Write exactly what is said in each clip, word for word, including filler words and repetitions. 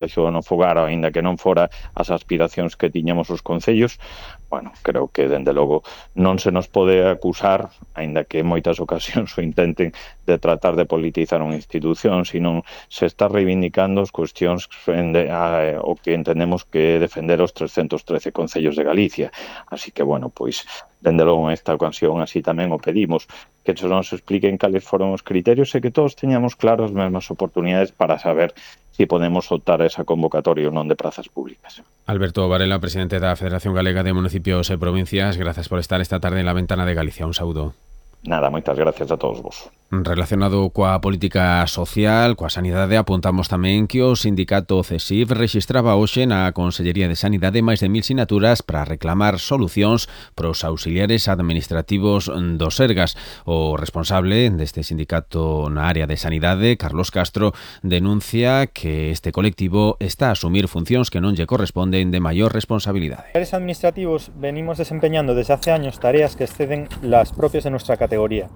no fogar, aínda que non fora as aspiracións que tiñamos os concellos. Bueno, creo que, dende logo, non se nos pode acusar, aínda que en moitas ocasións o intenten, de tratar de politizar unha institución, sino se está reivindicando as cuestións de, a, o que entendemos que é defender os trescentos trece concellos de Galicia. Así que, bueno, pois, dende logo, en esta ocasión, así tamén o pedimos, que se nos expliquen cales foron os criterios e que todos teñamos claras as mesmas oportunidades para saber si podemos optar a esa convocatoria ou non de prazas públicas. Alberto Varela, presidente da Federación Galega de Municipios e Provincias, gracias por estar esta tarde en La Ventana de Galicia. Un saúdo. Nada, moitas gracias a todos vos. Relacionado coa política social, coa sanidade, apuntamos tamén que o sindicato CESIF rexistraba hoxe na Consellería de Sanidade máis de mil sinaturas para reclamar solucións pros auxiliares administrativos do Sergas. O responsable deste sindicato na área de sanidade, Carlos Castro, denuncia que este colectivo está a asumir funcións que non lle corresponden de maior responsabilidade. Los administrativos venimos desempeñando desde hace años tareas que exceden las propias de nuestra categoría.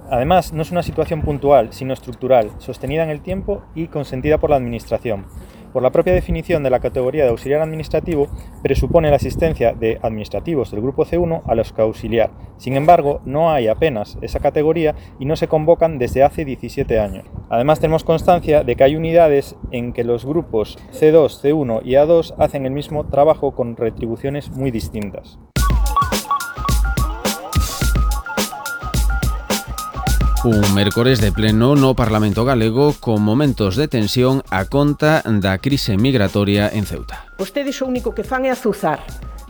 Además, no es una situación puntual, sino estructural, sostenida en el tiempo y consentida por la Administración. Por la propia definición de la categoría de auxiliar administrativo, presupone la asistencia de administrativos del grupo C uno a los que auxiliar. Sin embargo, no hay apenas esa categoría y no se convocan desde hace diecisiete años. Además, tenemos constancia de que hay unidades en que los grupos C dos, C uno y A dos hacen el mismo trabajo con retribuciones muy distintas. Un mércores de pleno no Parlamento galego con momentos de tensión a conta da crise migratoria en Ceuta. Vostedes o único que fan é azuzar,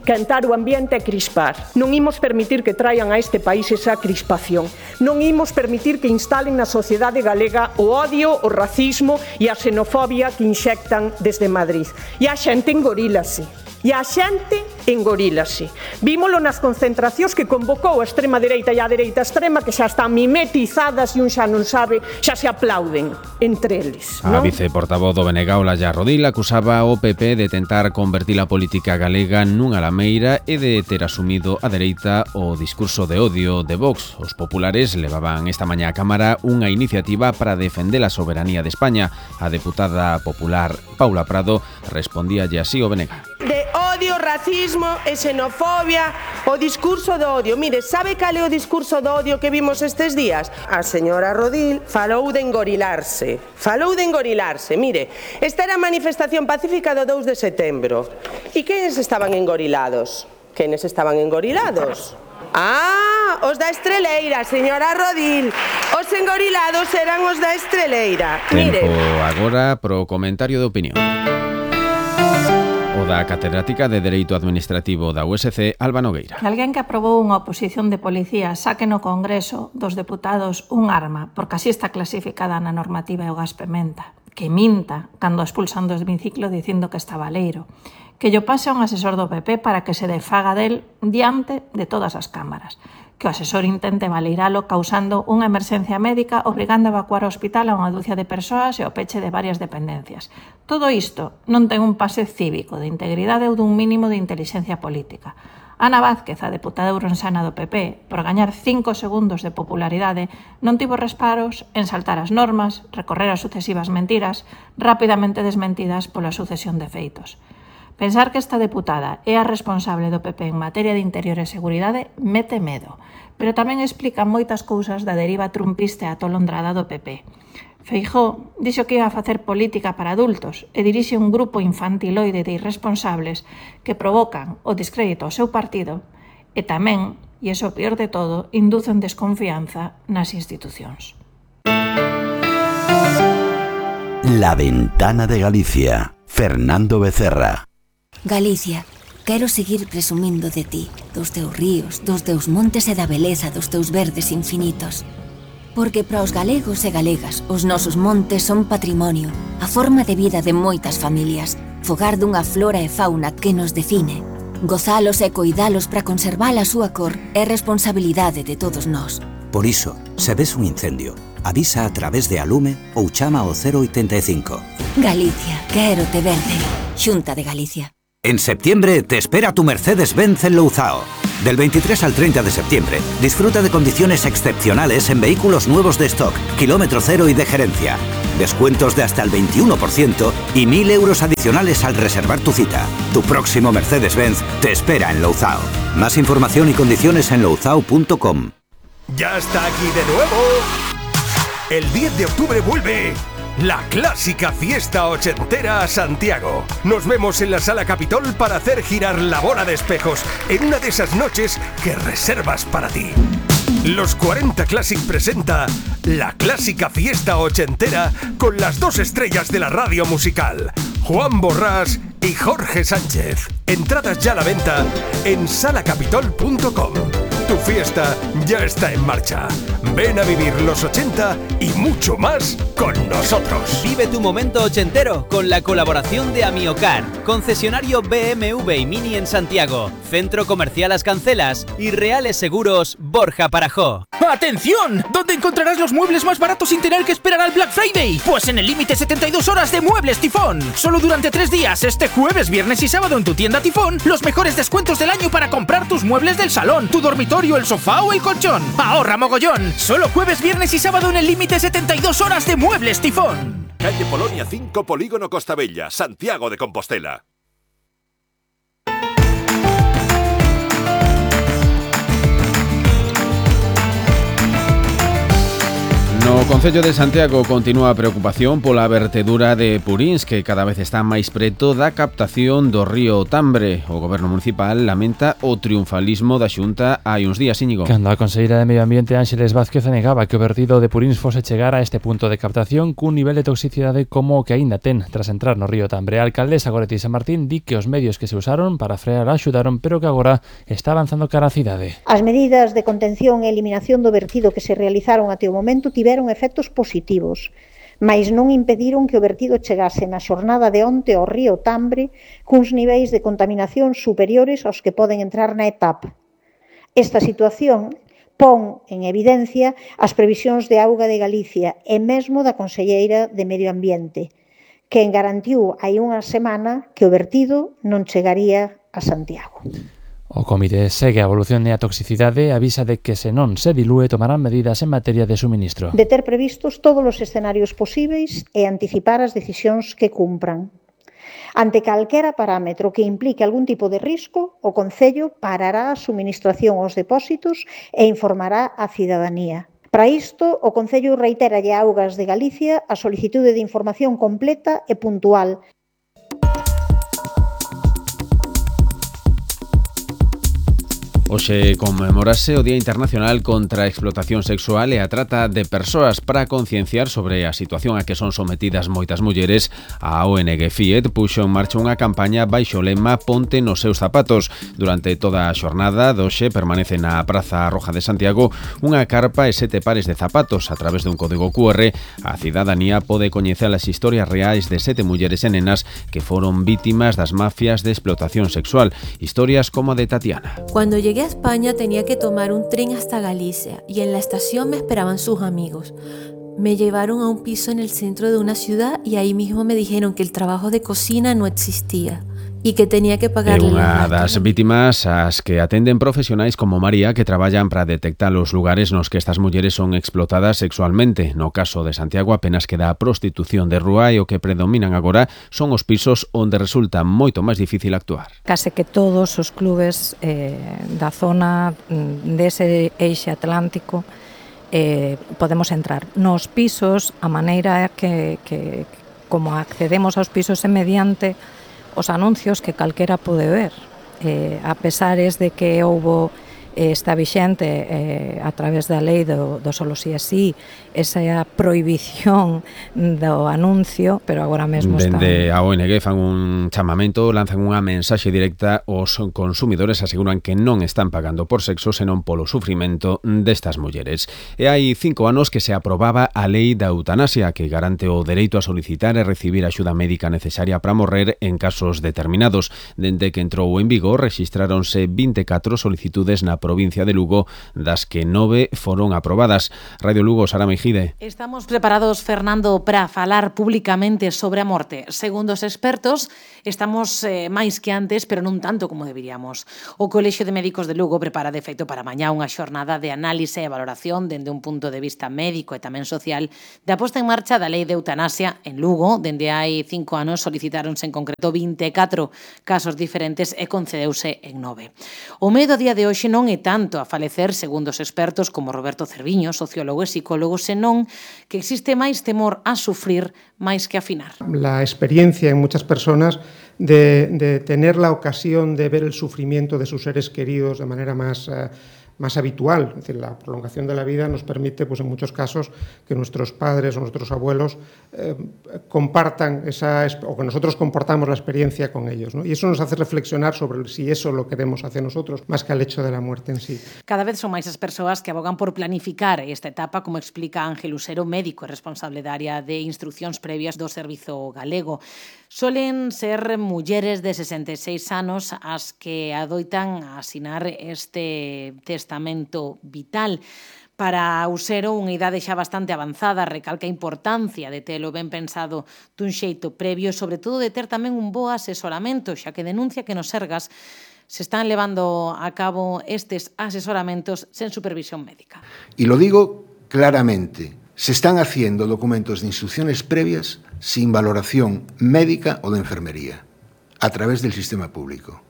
cantar o ambiente e crispar. Non imos permitir que traian a este país esa crispación. Non imos permitir que instalen na sociedade galega o odio, o racismo e a xenofobia que inxectan desde Madrid. E a xente engorílase. E a xente engorílase. Vímolo nas concentracións que convocou a extrema dereita e a dereita extrema, que xa están mimetizadas e un xa non sabe, xa se aplauden entre eles. A viceportavoz do B N G, Olalla Rodil, acusaba o P P de tentar convertir a política galega nunha lameira e de ter asumido a dereita o discurso de odio de Vox. Os populares levaban esta mañá á Cámara unha iniciativa para defender a soberanía de España. A deputada popular Paula Prado respondíalle así o B N G. De odio, racismo e xenofobia, o discurso do odio. Mire, sabe cal é o discurso do odio que vimos estes días? A señora Rodil falou de engorilarse. Falou de engorilarse. Mire, esta era a manifestación pacífica do dous de setembro. E quenes estaban engorilados? Quenes estaban engorilados? Ah, os da Estreleira, señora Rodil. Os engorilados eran os da Estreleira. Tempo agora pro comentario de opinión. O da catedrática de Dereito Administrativo da U S C, Alba Nogueira. Que alguén que aprobou unha oposición de policía saque no Congreso dos deputados un arma, porque así está clasificada na normativa e o gas pementa, que minta cando expulsan do hemiciclo dicindo que está baleiro, que lle pase a un asesor do P P para que se defaga del diante de todas as cámaras, que o asesor intente baleiralo causando unha emerxencia médica obrigando a evacuar o hospital a unha dúcia de persoas e o peche de varias dependencias. Todo isto non ten un pase cívico, de integridade ou dun mínimo de intelixencia política. Ana Vázquez, a deputada ourensana do P P, por gañar cinco segundos de popularidade, non tivo reparos en saltar as normas, recorrer as sucesivas mentiras, rapidamente desmentidas pola sucesión de feitos. Pensar que esta deputada é a responsable do P P en materia de interior e seguridade mete medo, pero tamén explica moitas cousas da deriva trumpista e atolondrada do P P. Feijóo dixo que iba a facer política para adultos e dirixe un grupo infantiloide de irresponsables que provocan o descrédito ao seu partido e tamén, e iso o peor de todo, inducen desconfianza nas institucións. La Ventana de Galicia. Fernando Becerra. Galicia, quero seguir presumindo de ti, dos teus ríos, dos teus montes e da beleza dos teus verdes infinitos. Porque para os galegos e galegas, os nosos montes son patrimonio, a forma de vida de moitas familias, fogar dunha flora e fauna que nos define. Gozalos e coidalos para conservar a súa cor é responsabilidade de todos nós. Por iso, se ves un incendio, avisa a través de Alume ou chama ao cero oitenta e cinco. Galicia, quero te verde. Xunta de Galicia. En septiembre te espera tu Mercedes-Benz en Louzao. Del veintitrés al treinta de septiembre, disfruta de condiciones excepcionales en vehículos nuevos de stock, kilómetro cero y de gerencia. descuentos de hasta el veintiuno por ciento y mil euros adicionales al reservar tu cita. Tu próximo Mercedes-Benz te espera en Louzao. Más información y condiciones en louzao punto com. ¡Ya está aquí de nuevo! El diez de octubre vuelve la clásica fiesta ochentera a Santiago. Nos vemos en la Sala Capitol para hacer girar la bola de espejos en una de esas noches que reservas para ti. Los cuarenta Classic presenta la clásica fiesta ochentera con las dos estrellas de la radio musical, Juan Borrás y Jorge Sánchez. Entradas ya a la venta en sala capitol punto com. Tu fiesta ya está en marcha. Ven a vivir los ochenta y mucho más con nosotros. Vive tu momento ochentero con la colaboración de Amiocar, concesionario B M W y Mini en Santiago, Centro Comercial Las Cancelas y Reales Seguros Borja Parajó. ¡Atención! ¿Dónde encontrarás los muebles más baratos sin tener que esperar al Black Friday? Pues en el límite setenta y dos horas de Muebles Tifón. Solo durante tres días, este jueves, viernes y sábado en tu tienda Tifón, los mejores descuentos del año para comprar tus muebles del salón, tu dormitorio, el sofá o el colchón. ¡Ahorra mogollón! Solo jueves, viernes y sábado en el límite setenta y dos horas de Muebles Tifón. Calle Polonia cinco, Polígono Costa Bella, Santiago de Compostela. No Concello de Santiago continúa a preocupación pola vertedura de purins que cada vez está máis preto da captación do río Tambre. O Goberno Municipal lamenta o triunfalismo da Xunta hai uns días, Íñigo. Cando a conselleira de Medio Ambiente Ángeles Vázquez negaba que o vertido de purins fose chegar a este punto de captación cun nivel de toxicidade como o que aínda ten tras entrar no río Tambre. A alcaldesa Goretti San Martín di que os medios que se usaron para frear axudaron, pero que agora está avanzando cara á cidade. As medidas de contención e eliminación do vertido que se realizaron até o momento tiveron efectos positivos, mais non impediron que o vertido chegase na xornada de onte ao río Tambre cuns niveis de contaminación superiores aos que poden entrar na etapa. Esta situación pon en evidencia as previsións de auga de Galicia e mesmo da conselleira de Medio Ambiente, que garantiu hai unha semana que o vertido non chegaría a Santiago. O comité segue a evolución e a toxicidade e avisa de que se non se dilúe tomarán medidas en materia de suministro. De ter previstos todos os escenarios posíveis e anticipar as decisións que cumpran. Ante calquera parámetro que implique algún tipo de risco, o Concello parará a suministración aos depósitos e informará á cidadanía. Para isto, o Concello reiteralle a Augas de Galicia a solicitude de información completa e puntual. Hoxe conmemorase o Día Internacional contra a Explotación Sexual e a Trata de Persoas. Para concienciar sobre a situación a que son sometidas moitas mulleres, a O N G FIED puxo en marcha unha campaña baixo o lema Ponte nos seus zapatos. Durante toda a xornada doxe permanece na Praza Roja de Santiago unha carpa e sete pares de zapatos. A través dun código Q R, a cidadanía pode coñecer as historias reais de sete mulleres e nenas que foron vítimas das mafias de explotación sexual. Historias como a de Tatiana. Cuando llegué a España tenía que tomar un tren hasta Galicia y en la estación me esperaban sus amigos. Me llevaron a un piso en el centro de una ciudad y ahí mismo me dijeron que el trabajo de cocina no existía y que tenía que pagarle. É unha das vítimas as que atenden profesionais como María, que traballan para detectar os lugares nos que estas mulleres son explotadas sexualmente. No caso de Santiago apenas queda a prostitución de rúa e o que predominan agora son os pisos onde resulta moito máis difícil actuar. Case que todos os clubes eh, da zona dese eixe atlántico eh, podemos entrar. Nos pisos, a maneira que, que como accedemos aos pisos é mediante os anuncios que calquera pode ver. Eh, a pesares de que houbo eh, está vixente eh, a través da lei do, do solo si así esa prohibición do anuncio, pero agora mesmo está... Dende a O N G fan un chamamento, lanzan unha mensaxe directa aos consumidores, aseguran que non están pagando por sexo, senón polo sufrimento destas mulleres. E hai cinco anos que se aprobaba a lei da eutanasia, que garante o dereito a solicitar e recibir a axuda médica necesaria para morrer en casos determinados. Dende que entrou en vigor, rexistráronse vinte e catro solicitudes na provincia de Lugo, das que nove foron aprobadas. Radio Lugo, Sara Meijide. Estamos preparados, Fernando, para falar públicamente sobre a morte. Segundo os expertos, estamos eh, máis que antes, pero non tanto como deberíamos. O Colexio de Médicos de Lugo prepara de feito para mañá unha xornada de análise e valoración dende un punto de vista médico e tamén social da posta en marcha da lei de eutanasia en Lugo. Dende hai cinco anos solicitáronse en concreto vinte e catro casos diferentes e concedeuse en nove. O medo a día de hoxe non é tanto a falecer, segundo os expertos como Roberto Cerviño, sociólogo e psicólogo, senón que existe máis temor a sufrir máis que a afinar. La experiencia en muchas personas de, de tener la ocasión de ver el sufrimiento de sus seres queridos de manera más, uh, más habitual. Es decir, la prolongación de la vida nos permite, pues en muchos casos, que nuestros padres o nuestros abuelos eh, compartan esa, o que nosotros compartamos la experiencia con ellos, ¿no? Y eso nos hace reflexionar sobre si eso lo queremos hacia nosotros, más que al hecho de la muerte en sí. Cada vez son máis as persoas que abogan por planificar esta etapa, como explica Ángel Usero, médico e responsable da área de instruccións previas do Servizo Galego. Solen ser mulleres de sesenta e seis anos as que adoitan a asinar este testamento vital. Para Usero, unha idade xa bastante avanzada, recalca a importancia de telo ben pensado dun xeito previo e, sobre todo, de ter tamén un bo asesoramento, xa que denuncia que nos Sergas se están levando a cabo estes asesoramentos sen supervisión médica. Y lo digo claramente, se están haciendo documentos de instrucciones previas sin valoración médica o de enfermería, a través del sistema público.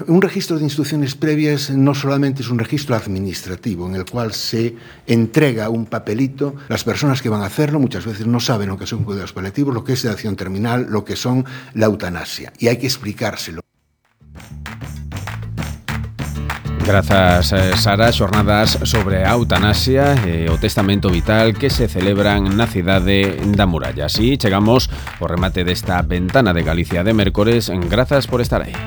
Un registro de instrucciones previas no solamente es un registro administrativo en el cual se entrega un papelito. Las personas que van a hacerlo muchas veces no saben lo que son cuidados paliativos, lo que es sedación terminal, lo que son la eutanasia, y hay que explicárselo. Grazas, Sara. Xornadas sobre a eutanasia e o testamento vital que se celebran na cidade da Muralla. Así chegamos ao remate desta ventana de Galicia de mércores. Grazas por estar aí.